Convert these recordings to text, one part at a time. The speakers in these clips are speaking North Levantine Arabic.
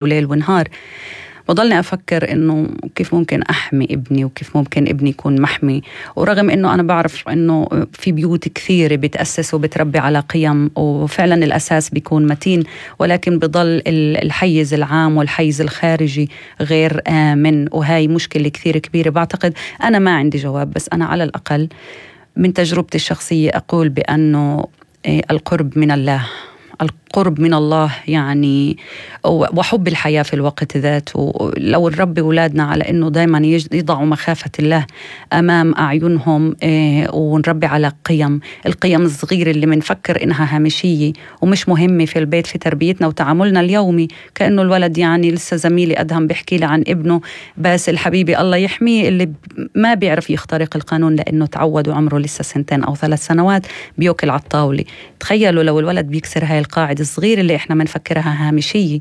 وليل ونهار. بضلني أفكر إنه كيف ممكن أحمي ابني وكيف ممكن ابني يكون محمي، ورغم إنه أنا بعرف إنه في بيوت كثيرة بتأسس وبتربي على قيم وفعلا الأساس بيكون متين، ولكن بضل الحيز العام والحيز الخارجي غير آمن، وهاي مشكلة كثير كبيرة. بعتقد أنا ما عندي جواب، بس أنا على الأقل من تجربتي الشخصية أقول بأنه القرب من الله، القرب من الله يعني وحب الحياة في الوقت ذاته. لو نربي أولادنا على أنه دايما يضعوا مخافة الله أمام أعينهم، ونربي على القيم الصغيرة اللي منفكر إنها هامشية ومش مهمة في البيت في تربيتنا وتعاملنا اليومي، كأنه الولد يعني لسه زميلي أدهم بيحكي لي عن ابنه باسل حبيبي الله يحميه اللي ما بيعرف يخترق القانون لأنه تعود وعمره لسه 2 أو 3 سنوات بيوكل على الطاولة. تخيلوا لو الولد بيكسر هاي القاعدة الصغيرة اللي إحنا منفكرها هامشية،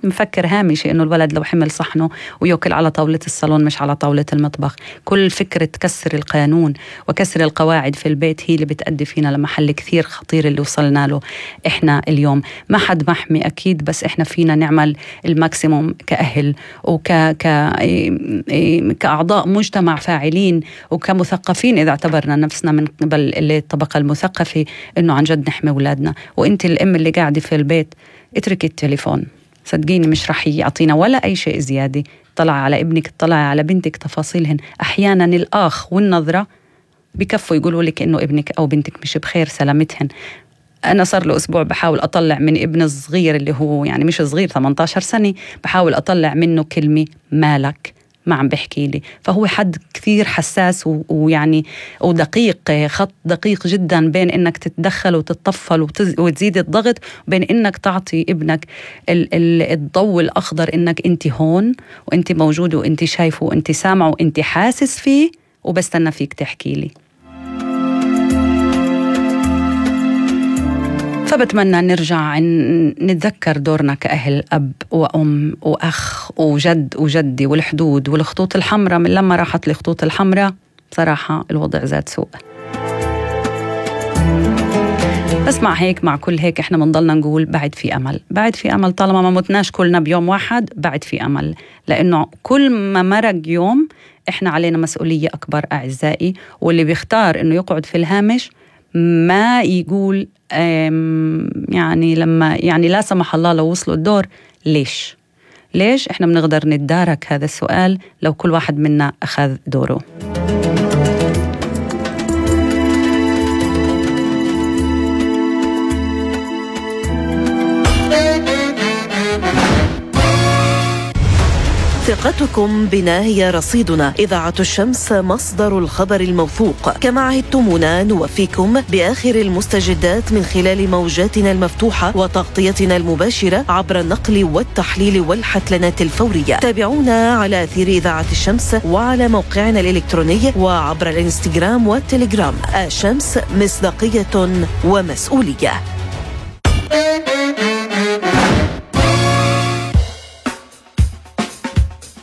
مفكر هامشي إنه الولد لو حمل صحنه ويأكل على طاولة الصالون مش على طاولة المطبخ. كل فكرة كسر القانون وكسر القواعد في البيت هي اللي بتأدي فينا لمحل كثير خطير اللي وصلنا له إحنا اليوم. ما حد محمي أكيد، بس إحنا فينا نعمل الماكسيموم كأهل كأعضاء مجتمع فاعلين وكمثقفين إذا اعتبرنا نفسنا من قبل الطبقة المثقفة، إنه عن جد نحمي أولادنا. وإنت الأم اللي قاعدة في البيت اترك التليفون، صدقيني مش رح يعطينا ولا أي شيء زيادة. طلع على ابنك، طلع على بنتك تفاصيلهن. أحيانا الآخ والنظرة بكفوا يقولوا لك إنه ابنك أو بنتك مش بخير، سلامتهن. أنا صار له أسبوع بحاول أطلع من ابن الصغير اللي هو يعني مش صغير 18 سنة، بحاول أطلع منه كلمة مالك، ما عم بحكي لي. فهو حد كثير حساس ويعني ودقيق، خط دقيق جدا بين إنك تتدخل وتتطفل وتزيد الضغط، وبين إنك تعطي ابنك الضوء الأخضر إنك أنت هون وأنت موجود وأنت شايفه وأنت سامع وأنت حاسس فيه وبستنى فيك تحكي لي. فبتمنى نرجع نتذكر دورنا كأهل، أب وأم وأخ وجد وجدي، والحدود والخطوط الحمراء. من لما راحت الخطوط الحمراء بصراحة الوضع زاد سوء. بس مع كل هيك احنا منضلنا نقول بعد في أمل، بعد في أمل. طالما ما متناش كلنا بيوم واحد بعد في أمل، لأنه كل ما مرق يوم احنا علينا مسؤولية أكبر أعزائي. واللي بيختار إنه يقعد في الهامش ما يقول يعني لما يعني لا سمح الله لو وصلوا الدور ليش احنا بنقدر نتدارك هذا السؤال لو كل واحد منا أخذ دوره. ثقتكم بنا هي رصيدنا. إذاعة الشمس مصدر الخبر الموثوق. كما عهدتمونا نوفيكم بآخر المستجدات من خلال موجاتنا المفتوحة وتغطيتنا المباشرة عبر النقل والتحليل والحتلنات الفورية. تابعونا على أثير إذاعة الشمس وعلى موقعنا الإلكتروني وعبر الإنستغرام والتليجرام. الشمس مصداقية ومسؤولية.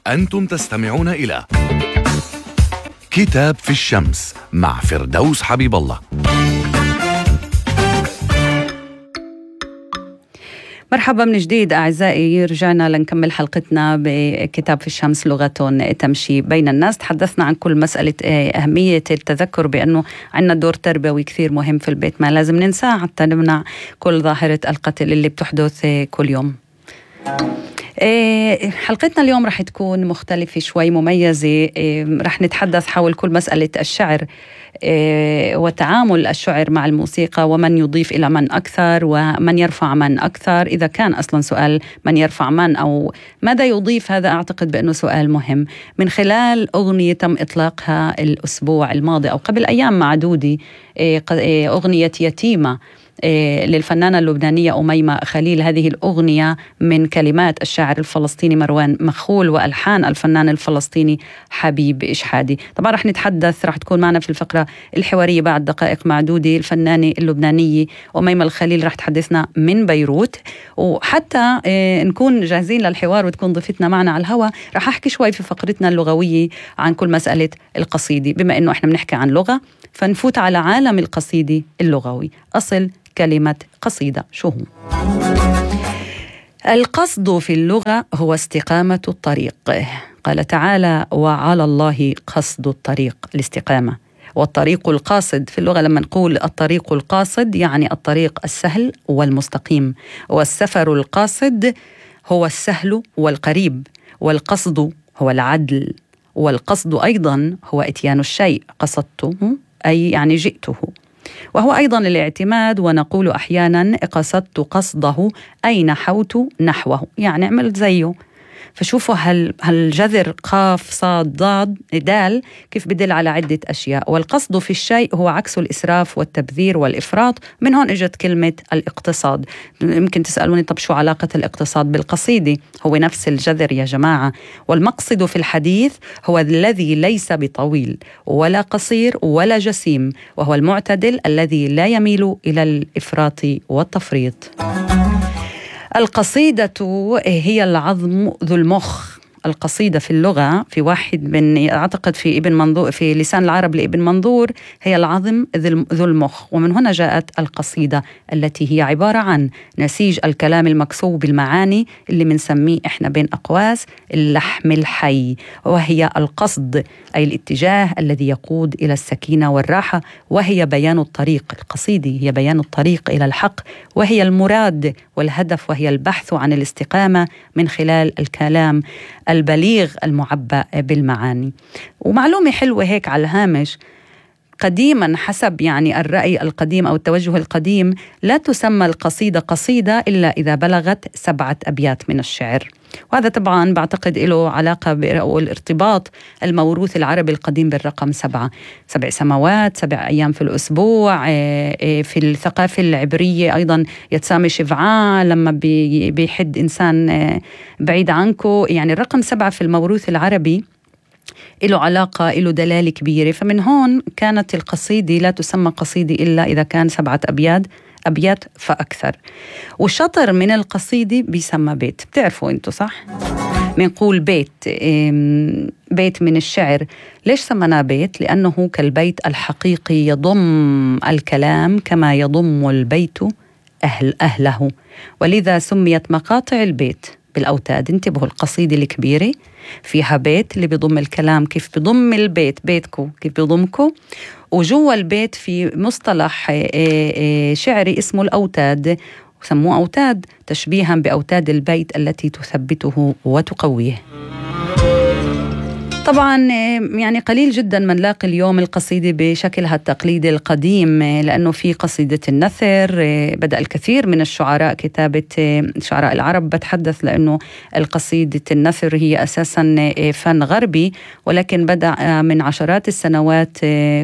أنتم تستمعون إلى كتاب في الشمس مع فردوس حبيب الله. مرحبا من جديد أعزائي، رجعنا لنكمل حلقتنا بكتاب في الشمس لغة تمشي بين الناس. تحدثنا عن كل مسألة أهمية التذكر بأنه عندنا دور تربوي كثير مهم في البيت ما لازم ننساه حتى نمنع كل ظاهرة القتل اللي بتحدث كل يوم. حلقتنا اليوم رح تكون مختلفة شوي، مميزة. رح نتحدث حول كل مسألة الشعر وتعامل الشعر مع الموسيقى، ومن يضيف إلى من أكثر ومن يرفع من أكثر. إذا كان أصلا سؤال من يرفع من أو ماذا يضيف، هذا أعتقد بأنه سؤال مهم. من خلال أغنية تم إطلاقها الأسبوع الماضي أو قبل أيام معدودة، أغنية يتيمة للفنانة اللبنانية أميمة خليل. هذه الأغنية من كلمات الشاعر الفلسطيني مروان مخول وألحان الفنان الفلسطيني حبيب إشحادي. طبعا رح تكون معنا في الفقرة الحوارية بعد دقائق معدودة الفنانة اللبنانية أميمة الخليل، رح تحدثنا من بيروت. وحتى نكون جاهزين للحوار وتكون ضيفتنا معنا على الهواء، رح أحكي شوي في فقرتنا اللغوية عن كل مسألة القصيدة، بما أنه إحنا بنحكي عن لغة فنفوت على عالم القصيدة اللغوي. أصل كلمة قصيدة شو هو؟ القصد في اللغة هو استقامة الطريق. قال تعالى: وعلى الله قصد الطريق، الاستقامة. والطريق القاصد في اللغة، لما نقول الطريق القاصد يعني الطريق السهل والمستقيم، والسفر القاصد هو السهل والقريب، والقصد هو العدل، والقصد أيضا هو إتيان الشيء، قصدته أي يعني جئته، وهو أيضا الاعتماد. ونقول أحيانا قصدت قصده أي نحوت نحوه، يعني عملت زيه. فشوفوا هالجذر قاف صاد ضاد دال كيف بدل على عدة أشياء. والقصد في الشيء هو عكس الإسراف والتبذير والإفراط. من هون إجت كلمة الاقتصاد. يمكن تسألوني طب شو علاقة الاقتصاد بالقصيدة؟ هو نفس الجذر يا جماعة. والمقصد في الحديث هو الذي ليس بطويل ولا قصير ولا جسيم، وهو المعتدل الذي لا يميل إلى الإفراط والتفريط. القصيدة هي العظم ذو المخ. القصيدة في اللغة في واحد من أعتقد في ابن منظور، في لسان العرب لابن منظور، هي العظم ذو المخ. ومن هنا جاءت القصيدة التي هي عبارة عن نسيج الكلام المكسو بالمعاني اللي بنسميه إحنا بين أقواس اللحم الحي، وهي القصد أي الاتجاه الذي يقود إلى السكينة والراحة، وهي بيان الطريق. القصيدة هي بيان الطريق إلى الحق، وهي المراد والهدف، وهي البحث عن الاستقامة من خلال الكلام البليغ المعبأ بالمعاني. ومعلومة حلوة هيك على الهامش: قديما حسب يعني الرأي القديم أو التوجه القديم لا تسمى القصيدة قصيدة إلا إذا بلغت 7 أبيات من الشعر. وهذا طبعا بعتقد له علاقة بالارتباط الموروث العربي القديم بالرقم 7 سماوات، 7 أيام في الأسبوع. في الثقافة العبرية أيضا يتسامي شفعاء لما بيحد إنسان بعيد عنكو. يعني الرقم 7 في الموروث العربي له علاقة، له دلالة كبيرة. فمن هون كانت القصيدة لا تسمى قصيدة إلا إذا كان 7 أبيات فأكثر. والشطر من القصيدة بيسمى بيت. بتعرفوا أنتوا صح؟ بنقول بيت من الشعر. ليش سمناه بيت؟ لأنه كالبيت الحقيقي يضم الكلام كما يضم البيت أهله، ولذا سميت مقاطع البيت بالأوتاد. انتبهوا، القصيدة الكبيرة فيها بيت اللي بيضم الكلام كيف بيضم البيت، بيتكو كيف بيضمكو، وجوا البيت في مصطلح شعري اسمه الأوتاد، وسموه أوتاد تشبيها بأوتاد البيت التي تثبته وتقويه. طبعا يعني قليل جدا من لاقي اليوم القصيدة بشكلها التقليدي القديم، لأنه في قصيدة النثر. بدأ الكثير من الشعراء كتابة، شعراء العرب بتحدث، لأنه القصيدة النثر هي أساسا فن غربي، ولكن بدأ من عشرات السنوات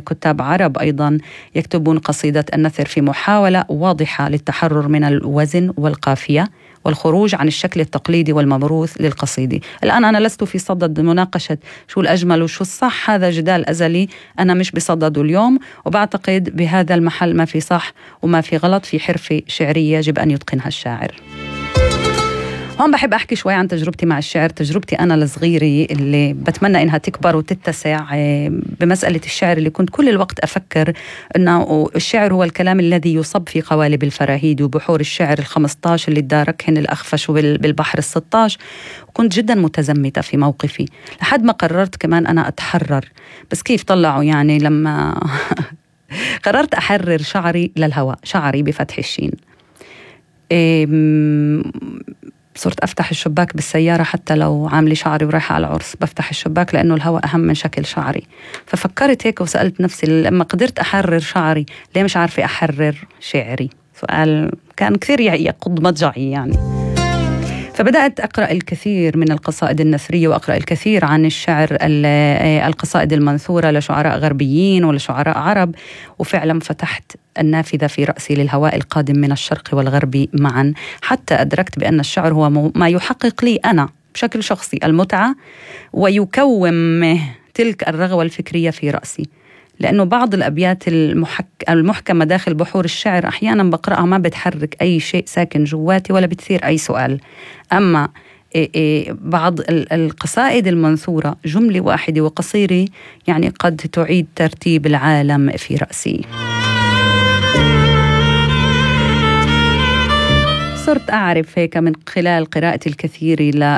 كتاب عرب أيضا يكتبون قصيدة النثر في محاولة واضحة للتحرر من الوزن والقافية والخروج عن الشكل التقليدي والموروث للقصيدة. الآن أنا لست في صدد مناقشة شو الأجمل وشو الصح، هذا جدال أزلي أنا مش بصدده اليوم، وبعتقد بهذا المحل ما في صح وما في غلط، في حرفة شعرية يجب أن يتقنها الشاعر. هون بحب أحكي شوي عن تجربتي مع الشعر، تجربتي أنا الصغيرة اللي بتمنى إنها تكبر وتتسع بمسألة الشعر، اللي كنت كل الوقت أفكر إنه الشعر هو الكلام الذي يصب في قوالب الفراهيد وبحور الشعر 15 اللي تداركهن الأخفش بالبحر 16. وكنت جدا متزمتة في موقفي لحد ما قررت كمان أنا أتحرر. بس كيف طلعوا يعني لما قررت أحرر شعري للهواء، شعري بفتح الشين. صرت أفتح الشباك بالسيارة حتى لو عاملة شعري ورايحة على العرس، بفتح الشباك لأنه الهواء أهم من شكل شعري. ففكرت هيك وسألت نفسي لما قدرت أحرر شعري ليه مش عارفة أحرر شعري؟ سؤال كان كثير يقض مضجعي يعني. فبدأت أقرأ الكثير من القصائد النثرية وأقرأ الكثير عن الشعر، القصائد المنثورة لشعراء غربيين ولشعراء عرب، وفعلا فتحت النافذة في رأسي للهواء القادم من الشرق والغرب معا، حتى أدركت بأن الشعر هو ما يحقق لي أنا بشكل شخصي المتعة ويكوم تلك الرغوة الفكرية في رأسي. لأنه بعض الأبيات المحكمة داخل بحور الشعر أحيانا بقرأها ما بتحرك أي شيء ساكن جواتي ولا بتثير أي سؤال. أما بعض القصائد المنثورة جملة واحدة وقصيرة يعني قد تعيد ترتيب العالم في رأسي. وصرت أعرف هيك من خلال قراءتي الكثير